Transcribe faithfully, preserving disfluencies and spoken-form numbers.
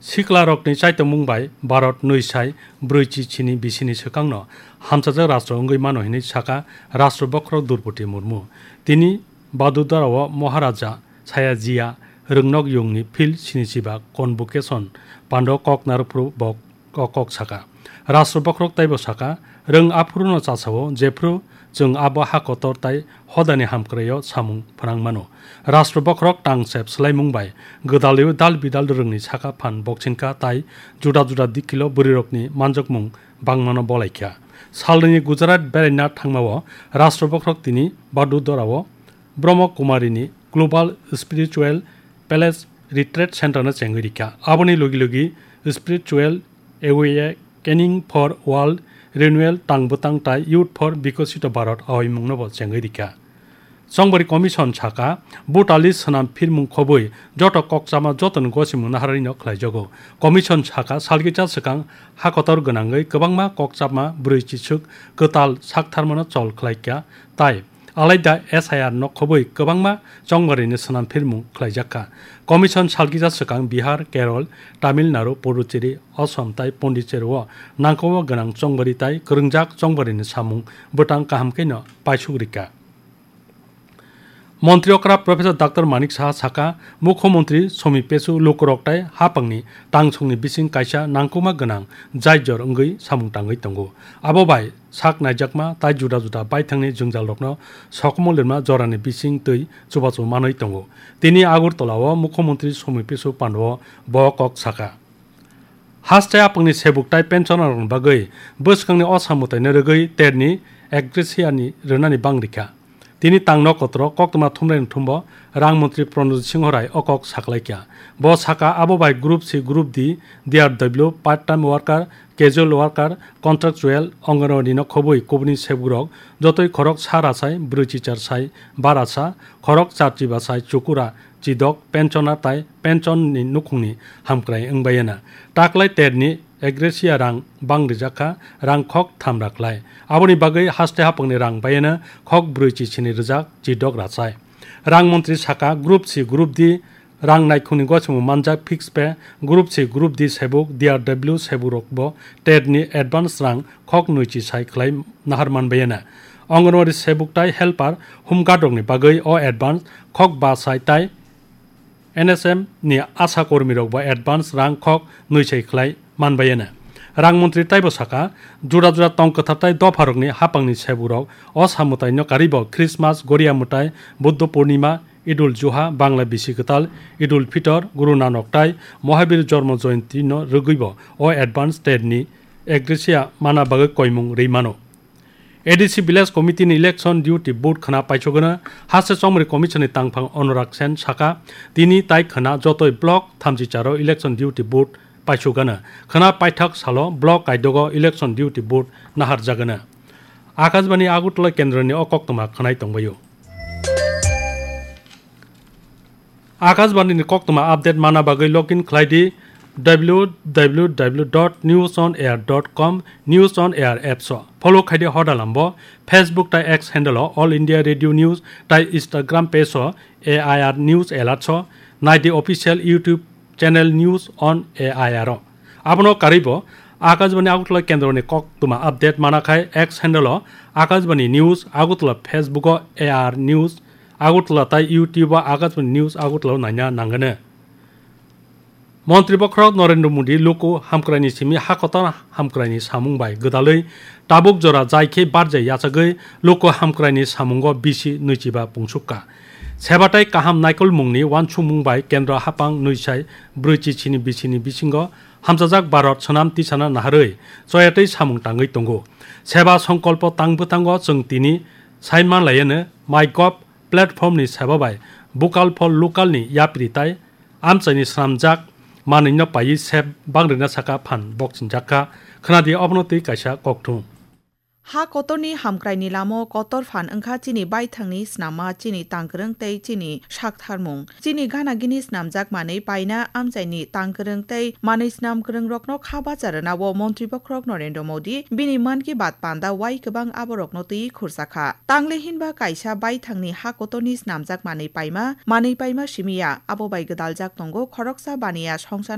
Siklarokni chaitokmung bai Bharat nwi sai brwichi chini bisini swkangno hamchajak rastro wngwi mano hinwi sakha Rastro Bokhorok Droupadi Murmu. Tini Vadodara-o Maharaja Sayajiya Rwngnok Yungni Field sinichiba Convocation pando kok narwkphuru bo o kok sakha. Rastro Bokhorok taibo sakha, rwng aphuruno chasao, jephru chwng abo ha kotor tai hodani hamkraio samung phnang mano. Rastro Bokhorok tangsep swlaimung bai gwdalwi dal bidal rwngni sakha phan bokchinkha tai juda juda dikhilo bwrwirokni manjakmung bangmano bolaikha. Salnwini Gujarat beraina thangmao Rastro Bokhorok tini Vadodara-o Brahma Kumarini Global Spiritual Palace Retreat Center no chengwi rikha. Aboni logi logi Spiritual Awakening for World Renewal tang bwtang tai Youth for Vikasito Bharat aoimungno bo chengwi rikha. Chongbari Commission sakha, butali swnam phirmung khobwi joto kokchama jotoni gosimung naharino khlaijago. Commission sakha, salkisa swkang hakotor gwnangwi kwbangma kokchama brwi chisuk kwtal saktharmano chol khlaikha tai alaida S I R no khobwi kwbangma chongbarini swnam phirmung khlaijakha. Commission salkisa swkang Bihar, Kerala, Tamil Nadu, Puducherry, Assam tai Pondicherry-o nangkukma gwnang chongbari tai kwrwngjak chongbarini samung bwtang kaham kheno paisuk rikha. Montri okra Professor Doctor Manik Saha sakha, Mukhyamantri Somi Pesu lukurok tai hapangni tangsongni bising kaisa nangkukma gwnang jaijor wngwi samung tangwi tongo. Abo bai sak naijakma tai juda juda baithangni jwngjalrokno sokomorlirma jorani bising twi chubachu manwi tongo. Tini Agartala-o Mukhyamantri Somi Pesu pando bo kok sakha. Haste hapangni sebuk tai pensionerrokni bagwi bwskangni o samwtaino rwgwi terni ek gratia-ni rwnani bang rikha. Tini tangno kotoro koktwma thumnaini thumbo rang montri Pranojit Singho Rai o kok saklaikha. Bo sakha, abo bai Group C, Group D, D R W, part time worker, casual worker, contractual, Anganwadi no khobwi kubuni sebukrok jotoi khorok sa rachai brwi chichar sai ba racha, khorok char chiba sai chukura chidok pensioner tai pension ni nukhungni hamkrai wngbaiyana. Taklai terni ek gratia rang bang rijakha, rang khok tham raklai. Aboni bagwi haste hapangni rang baiyana khok brwi chisini rijak chidok rachai. Rang montri sakha, Group C, Group D rang naikhungni gosimung manjak fix pay, Group C, Group D sebuk, D R W sebukrokbo terni advance rang khok nwichi sai khlai nahar manbaiyana. Anganwadi sebuk tai helper, home guard rokni bagwi o advance khok ba sai tai N S M ni asha kormirokbo advance rang khok nwi sai khlai manbaiyana. Rang montri taibo sakha, juda juda tong kwthar tai dopharokni hapangni sebukrok o samwtaino karwibo Christmas, Goria Mwtai, Buddha Purnima, Idul Juha, Bangla Bisi Kwtal, Idul Fitor, Guru Nanok tai Mohabir Jormo Joyantino rwgwibo o advance terni ek gratia mana bagwi koimung rwi mano. A D C Village Committee ni election duty vote khna paisogwno, haste chongmari commission ni tangphang Anurag Sen sakha, tini tai khna jotoi block thamchi charo election duty vote paisogwno, khna paithak salo block kaidogo election duty vote naharjagwno. Akashbani Agartala kendroni o koktwma khwnai tongbaio. Akashbani ni koktwma update mana bagwi login khlai di w w w dot news on air dot com, News on Air apps o. Follow khai di hoda lambo, Facebook tai X handle o All India Radio News tai Instagram page o A I R News Alerts o. Nai di official YouTube channel News on A I R o. Abono karwibo Akashbani Agartala kendroni koktwma update mana khai X handle o Akashbani News Agartala, Facebook o A I R News Agartala tai YouTube o Akashbani News Agartala o naina nangano. Montri Bokhorok Narendra Modi luku hamkraini simi hakotor hamkraini samung bai gwdalwi tabuk jora jai khe barjai yachagwi luku hamkraini samungo bisi nwichiba pungsukka. Seba tai kaham naikolmungni uansukmung bai kendro hapang nwi sai brwi chichini bisini bisingo hamchajak Bharat swnam tisana naharwi choyatwi samung tangwi tongo. Seba songkolpo tang bwtango chwng tini sai manlaiyano MyGov platform ni seba bai Vocal for Local ni yapri tai amchaini swnamjak manwino paiwi sep bangrina saka phan bokchinjakha. Khwnadi obono twi kaisa kokthum. Ha kotorni hamkraini lamo kotor phan wngkha chini baithangni snamma, chini tangkwrwng tei chini saktharmung. Chini gana gini snamjak manwi paina amchaini tangkwrwng tei manwi snam kwrwngrokno kha bacha rwnao Montri Bokhorok Narendra Modi bini Mann Ki Baat panda wai kwbang aborokno twi khursa kha. Tangle hinba kaisa baithangni ha kotorni snamjak manwi paima, manwi paima simi ya, abo bai gwdaljak tongo khoroksa baniya songchana